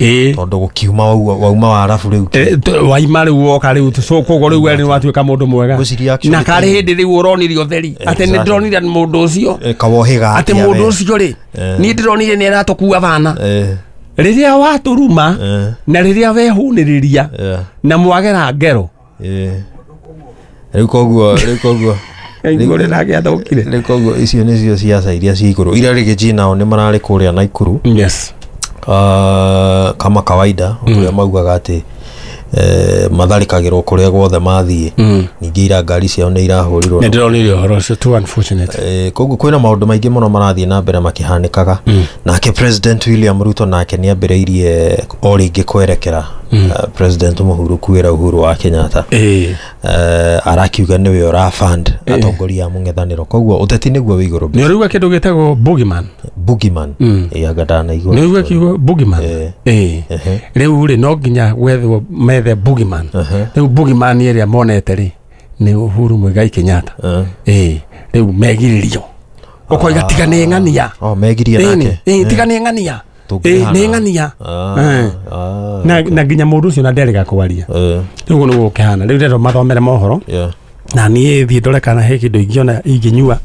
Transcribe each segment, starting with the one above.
Tondũ gũkiuma wauma warabu rĩu. Waima rĩu woka rĩu so koguo rĩu we nĩ watuĩka mũndũ mwega. Ngwĩciria actually Na karĩ hĩndĩ rĩu ũronire ũtheri atĩ nĩ ndĩronire mũndũ ũcio Kawohĩga atĩ mũndũ ũcio rĩ, niĩ ndĩronire nĩ aratũkua bana rĩrĩa watũruma na rĩrĩa wehunĩrĩria na mwagera ngero. Rĩu koguo rĩu koguo Igũrũ nake athũkire. Rĩu koguo icio nĩcio ciaca iria ci igũrũ. Ira rĩngĩ nao nĩ mararĩ kũrĩa Naikuru. Yes. Kama kawaida ũrĩa maugaga atĩ matharĩkagĩrwo kũrĩa guothe mathiĩ. Ningĩ ira ngari ciao nĩ irahũrirwo. Nĩ ndĩronire ũhoro ũcio, too unfortunate. Koguo kwĩna maũndũ maingĩ mũno marathiĩ na mbere makĩhanĩkaga. Nake President William Ruto nake nĩ ambĩrĩirie o rĩngĩ kwerekera President Mũhuru kwĩra Uhuru wa Kenyatta. Arakiuga nĩwe ũra fund atongoria a mũng'ethanĩro, koguo ũteti nĩguo wĩ igũrũ. Nĩ ũraigua kĩndũ gĩtagwo boogeyman? Boogeyman? Ĩ, anga ndanaigua. Nĩ ũraigua kiugo boogeyman? Ĩĩ, rĩu rĩ, no nginya gwethwo methe boogeyman. Rĩu boogeyman ĩrĩa monete rĩ nĩ Uhuru Muigai Kenyatta. Ĩĩ, rĩu megirĩrio ũkoiga tiga nĩ ng'ania. Oh, megirie nake. Ĩĩ, tiga nĩ ng'ania. Ĩĩ, nĩ ng'ania. Na nginya mũndũ ũcio na nderĩga kwaria. Rĩu ũguo nĩguo gũkĩhana. Rĩu ndĩrenda mathomere mohoro na niĩ thiĩ ndore kana he kĩndũ ingĩona ingĩnyua,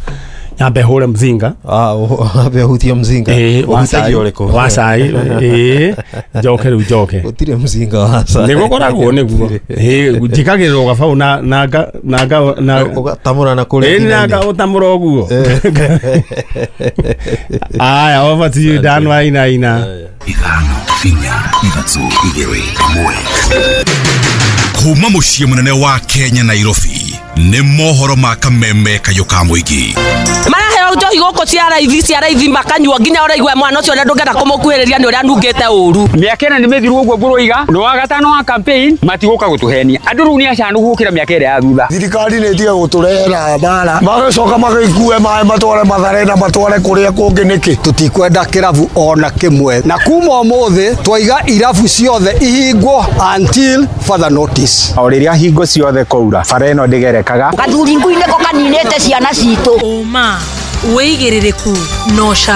nyambe hũre mzinga. Ambe ũhutie mzinga? Ĩĩ, wa Ũhutagia cai. ũrĩkũ? Wa cai, ĩĩ, njoke rĩu njoke. Gũtirĩ mzinga wa cai. Nĩguo koragwo nĩguo. Ĩĩ, njĩkagĩrĩrwo gabaũ na na nga na nga na Ũgatamũra na kũrĩa Ĩĩ, na thina-inĩ. nga ũtamũra ũguo. Aya, over to you, Dan Wainaina. 5 4 3 2 1. Kuma mũciĩ mũnene wa Kenya, Nairobi, nĩ mohoro ma kameme kayũ ka mũingĩ. Maraheo njohi gũkũ cia raithi, cia raithi, makanyua nginya ũraigua mwana ũcio ũrĩa ndũngĩenda kũmũkuhĩrĩria nĩ ũrĩa anungĩte ũru. Mĩaka ĩna nĩ mĩthiru ũguo ngũrũiga nĩ wa gatano wa campaign matigũka gũtũhenia andũ rĩu nĩ acanu gũkĩra mĩaka ĩrĩa ya thutha. Thirikari nä tige gå tå rehera mbara, magacoka magäkue maä matware Mathare na matware kå rä a kå ngä nä kä. Tutikwenda kĩrabu ona kĩmwe, na kuma ũmũthĩ twaiga irabu ciothe ihingwo until further notice. O rĩrĩa hingo ciothe kwaura, bara ĩno ndĩgerekaga. Gathuri ngui nĩko kaninĩte ciana citũ. Ũma, wĩigĩrĩrĩku no.